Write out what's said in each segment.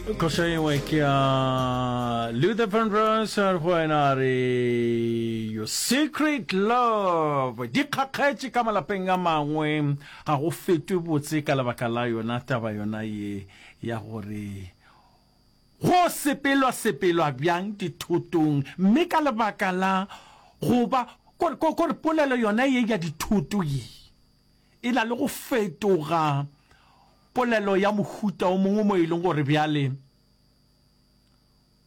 Koša engwe ke ya Luther Vandross a re go wena a re Your Secret Love. Di kgakgetše ka malapeng a mangwe ga go fetwe botse ka lebaka la yona taba yona ye ya gore go sepelwa sepelwa bjang dithotong mme ka lebaka la go ba kore kore polelo yona ye ya dithoto ye e na le go fetoga polelo ya mohuta o mongwe mo e leng gore bjale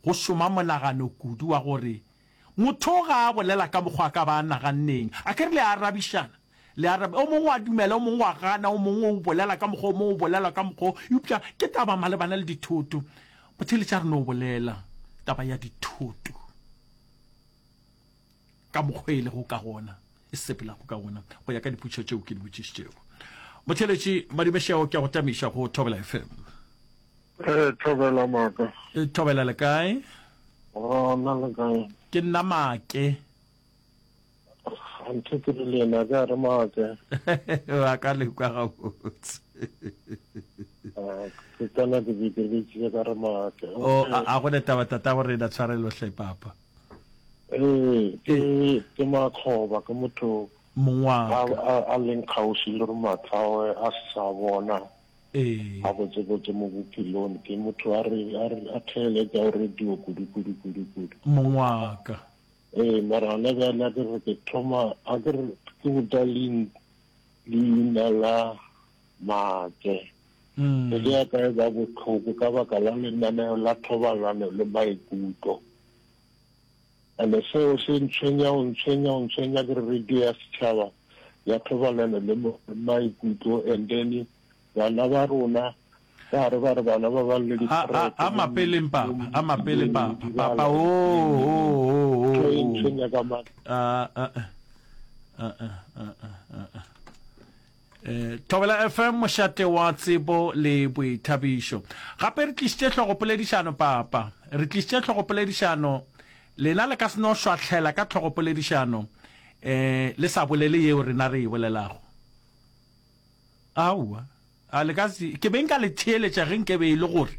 go šoma monagano kudu wa gore motho ga a bolela ka mokgwa a ka ba a naganneng. A ke re le a arabišana, le arab, o mongwe wa dumela, o mongwe wa gana, o mongwe o bolela ka mokgwa o mongwe, o bolela ka mokgwa o, eupša ke taba malebana le dithoto. Motheeletši a re no bolela taba ya dithoto. ka mokgwa e lego ka gona, e sepelago ka gona, go ya ka dipotšišo tšeo ke di botšišitšego. Motheeletši Madumešeo, ke a go tamiša go Thobela FM. Ee, Thobela Maaka. E, Thobela le kae? Gona le kae? Ke nna Maake. Anthe ke re le yena ke a re Maake. Wa ka le kwa gabotse. Ah, ke kana ke be ke bitsitse ka re Maake. O a go ne taba tata go rena tshwarelo hle papa. Ee, ke ke makgoba, ke motho Mongwaka. a a leng kgauswi le gore matlhawe a se sa bona Ee. gabotsebotse mo bophelong. Ke motho a re a re a theeletša radio kudu kudu kudu kudu. Mongwaka. Ee, mara gona bjale a ke re ke thoma a ke re ke botsa leina la Maake. Pelo ya ka e ba bohloko ka baka la lenaneo la thobalano le maikutlo. And-e seo se ntshwenya, go ntshwenya, go ntshwenya ke re radio ya setšhaba ya thobalano le maikutlo and then bana ba rona ka gare ba re bana ba ba le A, a, a mapeleng papa, a mapele papa, papa, oh, oh, oh, oh, e oh. ntshwenya ka matla. Ah, ah, ah, ah, ah, ah, ah, ah. Eh, Thobela FM mošate wa tsebo le boithabišo. Gape re tlišitše hlogopoledišano papa. Re tlišitše hlogopoledišano. Lena le ka se no šwahlela ka hlogopoledišano eh le sa bolele yeo rena re e bolelago. Aowa. A le ka se ke be nka le theeletša ge nke be e le gore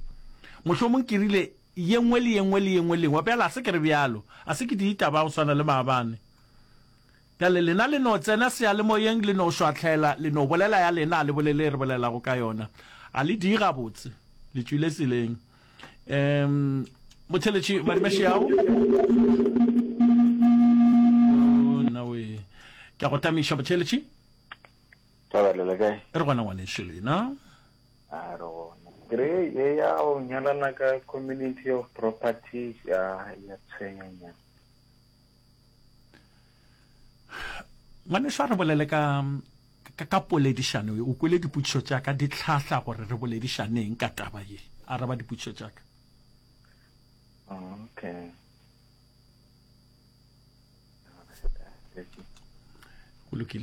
mohlomong ke rile ye nngwe le ye nngwe le ye nngwe le nngwe. Bjale a se ke re bjalo. A se ke ditaba go swana le maabane. Bjale lena le no tsena seyalemoyeng, le no šwahlela, le no bolela ya lena, a le bolele e re bolelago ka yona. A le di gabotse. Le tšwile tseleng. Um, motheletši Madimešiao. Oh, nna we. Ke a go tamiša motheletši. Thobela le kae? Re gona ngwanešu lena. A re gona. Ke re ye ya go nyalana ka community of properties ya ya tshwenyanyana. Ngwanešu a re bolele ka ka, ka poledišano ye. O kwele dipotšišo tša ka di hlahla gore re boledišaneng ka taba ye. Araba dipotšišo tša ka. Okay. Go lokile.